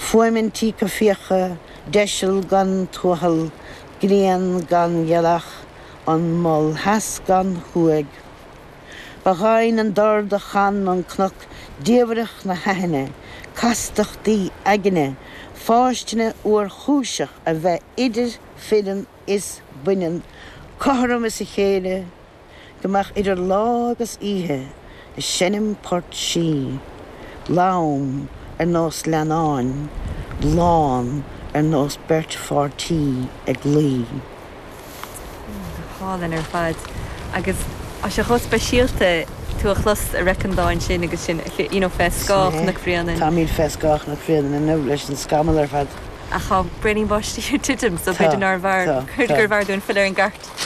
Fuaim an tí coimhthíocha, deiseal gan tuathal, grian gan ghealach, an mol theas gan thuaidh. Ba dhoimhin an dord a chan an cnoc diamhaireacht na haithne, castachtaí aigne, fáistine fhuarchúiseach a bheith idir fireann is baineann, cothrom is a chéile, go mbeadh idir lá agus oíche ag seinm port sí, lom ar nós leannáin, lán ar nós beirt pháirtí ag luí. Go hálainn ar fad. Agus tá sé chomh speisialta tú a chlos ag reic an dáin sin agus sinn you know fé scáth Chnoc Bhréanainn. Táimid fé scáth Chnoc Bhréanainn inniu leis an scamall ar fad. Ach tá braoinín báistí ag titim so b'fhéidir nárbh fhearr, gurbh fhearr dúinn filleadh ar an gcairt.